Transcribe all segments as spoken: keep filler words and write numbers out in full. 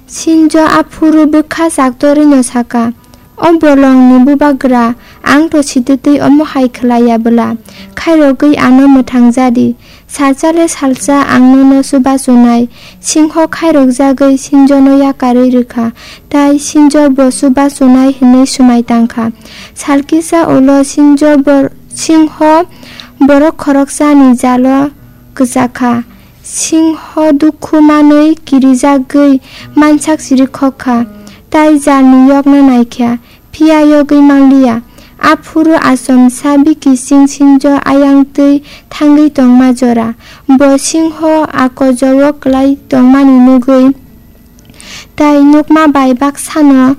Sinjo aphuru bwkha chaktorwino saka, "O bolongni bubagra, ang to sititwi omo hai khlai ya bwla? Khairogwi ano mwthang ja di. Salsa le salsa ang nono chubachu nai." Singho khairokjagwi Sinjono yakarwi rwkha, tai Sinjo bo chubachu nai hwnwi swmai tangkha. Sal kisa ulo Sinjo bor-, Singho borok khoroksani jalo kwchakha. Singho dukhu manwi kirijagwi mansak siri khok kha, tai jalni yokna nai kha, phiya yogwi manliya. Aphuru achomsa bikising Sinjo ayang twi thangwi tongma jora. Bo Singho akojogo kwlai tongmani nugwi tai nukma bai baksano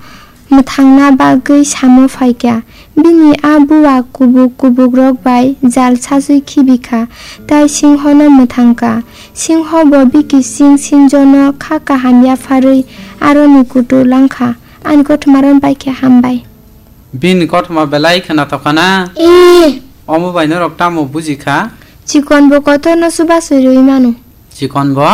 mwthangna bagwi samo phaikha. Bini a bua kubuk kubukrok bai jal sasui khibikha, tai Singhono mwthangkha. Singho bo bikising Sinjono kha kaham yapharwi aroni kutu langkha. Ani kothoma ron bai khe hambai. Bini kothoma belai khwnathokha na? Ee. Omo bai norok tamo bujikha? Chikon bo kotorno chubachu rwi mano. Chikon bo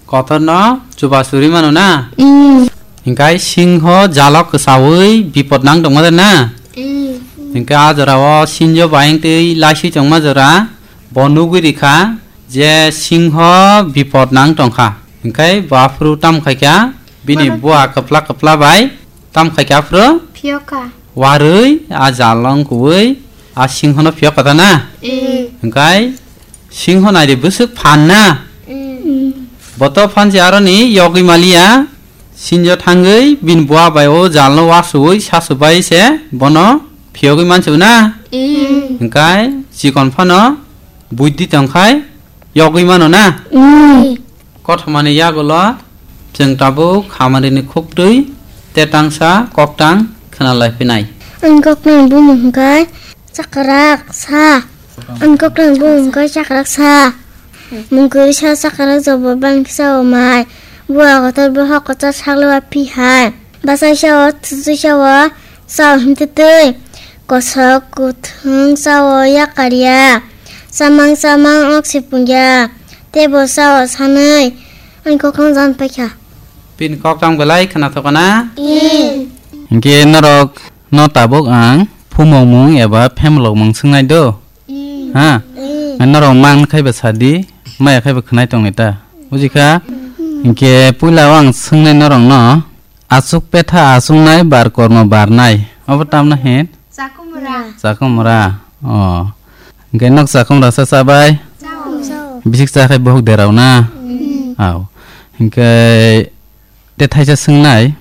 kotorno chubachu rwi mano na? Mm. Hinkhe Singho jalo kwchaui bipot nang tongma de na? Mm. Hinkhe a jorao Sinjo bayang twi laisui tongma jora bo nugwi rikha je Singho bipot nang tongkha. Hinkhe bo aphuru tam khaikha bini bua kwpla kwpla bai tam khaikha aphuru Phiyoka. Warwi a jalo wngkui a Singhono phiyok kha ta na? Mm. Hinkhe Singho naidi bwswk phan na? Mm. Boto phan se aroni yogwi maliya, Sinjo thangwi bini bua bai o jalno wasui sasu bai se bono phiyogwi mansu na? Mm. Hinkhe chikon phano buidhi tongkhai yogwi mano na? Mm. Kothomani yagulo chwng tabuk khamani ni khuktwi te tangsa koktang khwnalai phinai. Ang koktang bumung hwnkhe chakrak sa. Ang koktang bumung hwnkhe chakrak sa. Mungkui sa chakrak jobo bang kisa omai. Bua kotor bo hok kotor sakle wa pi hai. Bachai sao, thuchwi sao, sao himtwtwi. Kosok, kuthwng sao yakarya. Chamang chamang ok se pungya. Tebo sao sanwi. Ani koktang jan paikha. Bini koktang belai khwnathokna? Ee. Hinkhe norok no tabuk ang phumokmung eba phemlokmung swngnai do? Ha? Norok man khai ba sadi, maya khai ba khwnai tongni ta. Bujikha? Hinkhe puila o ang swngnai norok no, aswk petha aswknai bar kormo barnai. Obo tamno hin? Chakumra. Chakumra. O. Hinkhe nok chakumra sa chabai? Chao. Bisik cha khai bohok derao na? Au. Hinkhe Te thaisa swngnai,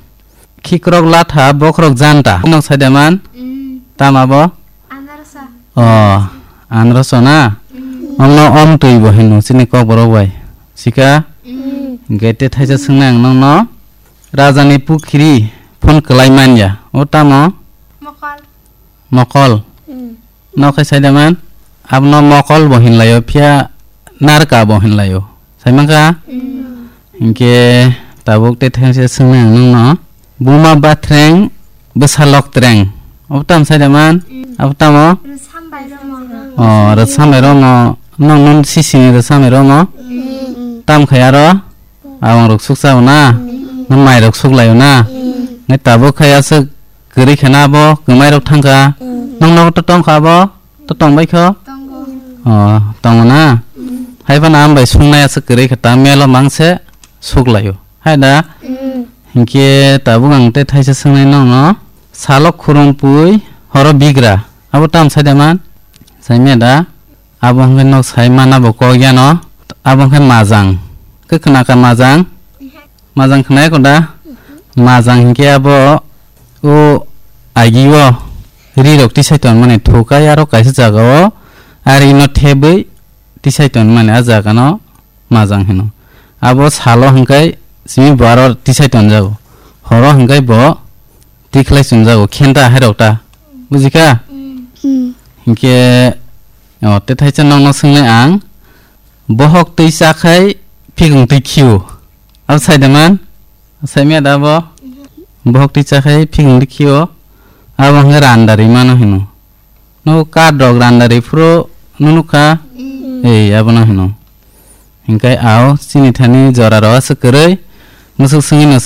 khikrok latha bokhorok janta. Nok saida man? Mm. Tama bo? Anarsa. O, anarsa na? Mm. Omno om twi bo hino chini kokborok bai. Sika? Mm. Hinkhe te thaisa swngnai ang nokno. Rajani pukhiri phone kwlai manya. O tamo? Mokol. Mokol. Mm. Nok khai saida man? Abono mokol bo hinlaio, phiya narka bo hinlaio. Saimankha? Mm. Hinkhe tabuk te thengse swngnai ang nokno. Buma bathreng, bwsa loktreng. Abo tamo saida man? Mm. Abo tamo? Rwsam bai romo. O, rwsam bai romo. Nokno sisini rwsam bai romo. Mm. Tam khai aro? Abang rok suksa o na? Mm. Nang mai rok suklaio na? Mm. Nai tabuk khai aswk kwrwi khena abo kwmai rok thangkha. Mm. Nang nogo to tongkha abo? To tongbai kho? Tongo. O, tongo na? Mm. Hai phano ang bai sungnai aswk kwrwi kha ta melo mangse suklaio. Hai da? Mm. Hinkhe tabuk ang tei thaisa swngnai nokno. Salo khurung pui horo bigra. Abo tam saida man? Saimya da? Abo hwnkhe nok sai mana bo kok yano. Abo hwnkhe majang. Khe khna kha majang? Majang khna ya koda? Majang hinkhe abo o agi o ri rok tisai ton mani thukai aro kaisa jaga o ari no thebwi tisai ton mani a jaga no majang hino. Abo salo hwnkhe simi bo aro tisai ton jago. Horo hwnkhe bo tikhlai chum jago khenta hai rok ta. Bujikha? Mm. Hinkhe o te thaisa nokno swngnai ang. Bohok twi chakhai phikung twi khio. Abo saida man? Saimya da bo? Bohok twi chakhai phikung twi khio. Abo hwnkhe randa ri mano hino. Nogo card rok randa ri phuru nukha. Mm. Ei, abono hino. Hinkhe ao chini thani jora rok aswk kwrwi. Musuk swngwi no